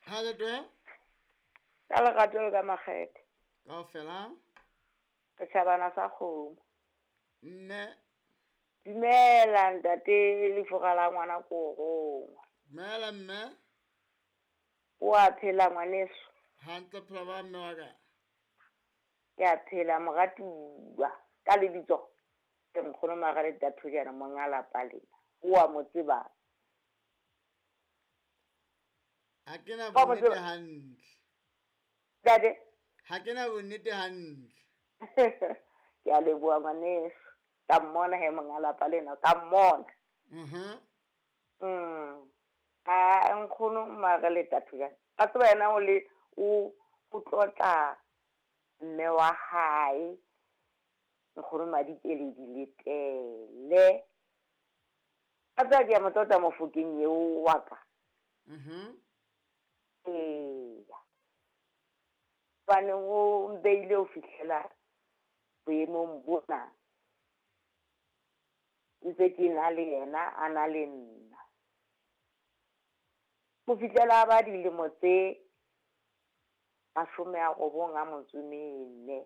Ha le twe? Ka lerato le ka makgethe. Kaofela. Setjhabana sa kgomo. Mme. Dumela ntate lefura la ngwana ko rongwa. Dumela mme. O a phela ngwaneso? Hantle phela ba mme wa ka. Ke a phela moratuwa ka lebitso ke nkgono Margaret Thojana monga lapa lena. O a mo tseba? Ha ke na bonnete hantle. Ntate? Ha ke na bonnete hantle. Ke a leboha ngwaneso. Ka mmona he monga lapa lena, ka mmona. A nkgono Margaret Thojana. A tseba yena o le o o tlotla mme wa hae nkgono Madikeledi Letele. A tseba ke a mo tlotla Mofokeng eo wa ka. Eya. Hobane o mbeile ho fihlela boemong bona. Ntse ke na le yena a na le nna. Ho fihlela ba dilemo tse 94.